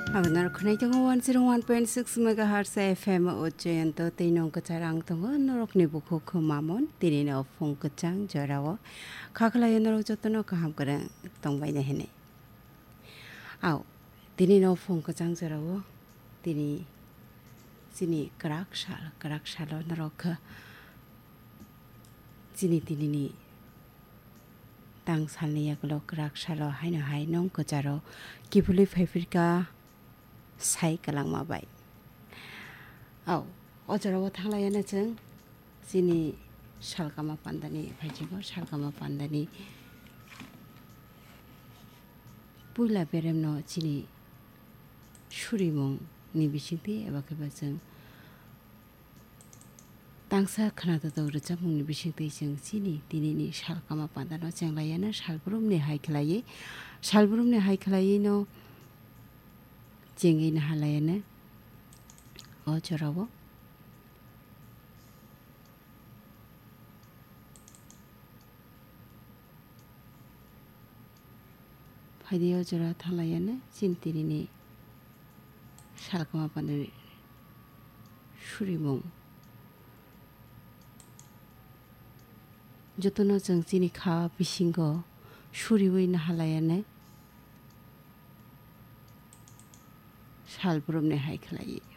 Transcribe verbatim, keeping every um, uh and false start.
Ang norok khwnai tongo one zero one point six megahertz F M o Jayanto tei nong kwchar ang tongo norokni bukhuk mamon tini no phung kwchang jorao khaklai norok jotono kaham kwrwng tongbaina hinwi. Au, tini no phung kwchang jorao tini chini kwrak sal, kwrak salo norok kha chini tinini tang salni yagulo kwrak salo haino hai nong kwcharo kiphilwi phaiphirkha sai kwlangma bai. Au, o jorao thanglaiano chwng chini salkama pandani phaichigo, salkama pandani puila beremno chini surimung ni bisingtwi eba khe ba chwng tangsa khwnathok rwchapmungni bisingtwi chwng chini tinini salkama pandano chenglaiano salbrumni hai khlaiwi, salbrumni hai khlaiwino chengwi nahalaiano o jorao. Phaidi o jora thanglaiano chini tinini salkama pandani surimung. Jotono chwng chini kha bisingo suriwi nahalaiano salbrumni hai khlaiwi.